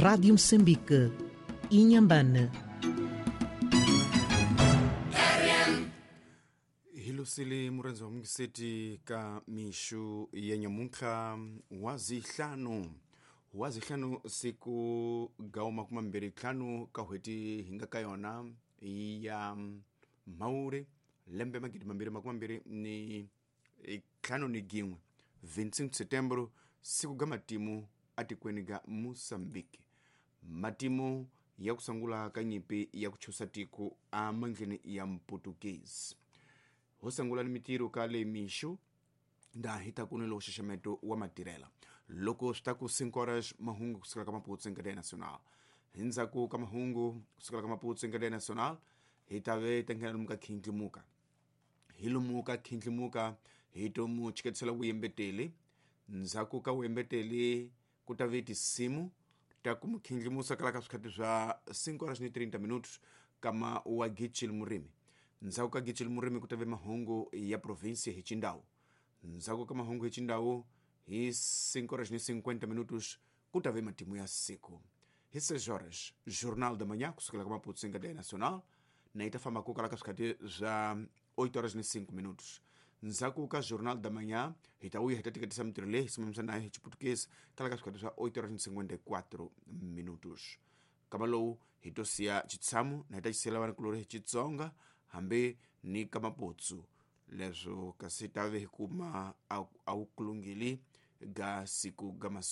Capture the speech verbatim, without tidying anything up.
Rádio Moçambique, Inhambane. Hilusile murenzi wa mungiseti ka mixu ya nyamuntlha wa zihlanu wa zihlanu siku ga makumi mambirhi ntlhanu ka n'hweti hi nga ka yona ya Mhawuri lembe magidi mambirhi makumi mambirhi ni ntlhanu ni gin'we vinhanu Setembro siku ga matimu atikweni ga Mozambique matimu ya ku sungula ka nyimpi ya ku chusa tiko amandleni ya Mputukezi ho sungula ni mitirho ka le mixo nda hi ta ku ni lowu xaxameto wa matirhela loko swi ta ku cinco horas mahungu kusukela ka Maputo Cadeia Nacional hi ndzhaku ka mahungu kusukela ka Maputo Cadeia Nacional hi ta ve ta nghena lomu ka khindlimuka hi lomu ka khindlimuka hi to mu chiketisela vuyembeteli ndzhaku ka vuyembeteli ku ta ve tinsimu ta ku mu khindlimusa kala ka swikhati swa cinco horas ni trinta minutos kama wa Gitchil Murimi ndzhaku ka Gitchil Murimi ku ta ve mahungu ya provinsia hi Chindau ndzhaku ka mahungu hi Chindau hi cinco horas ni cinquenta minutos ku ta ve matimu ya siku hi seis horas Jornal da Manhã kusukela ka Maputo Cadeia Nacional na yi ta famba ku kala ka swikhati swa oito horas ni cinco minutos ndzhaku ka Jornal da Manhã hi ta vuya hi ta tiketisa mitirho leyi hi simamisa nayo hi Chiputukezi kala ka swikhati swa oito horas ni cinquenta e quatro minutos kama lowu hi to siya xitshamo na hi ta xisiyela vanakulorhi hi Xitsonga hambi ni ka Maputsu leswo kasi ta ve hi kuma a wu kulungili ga siku ga maso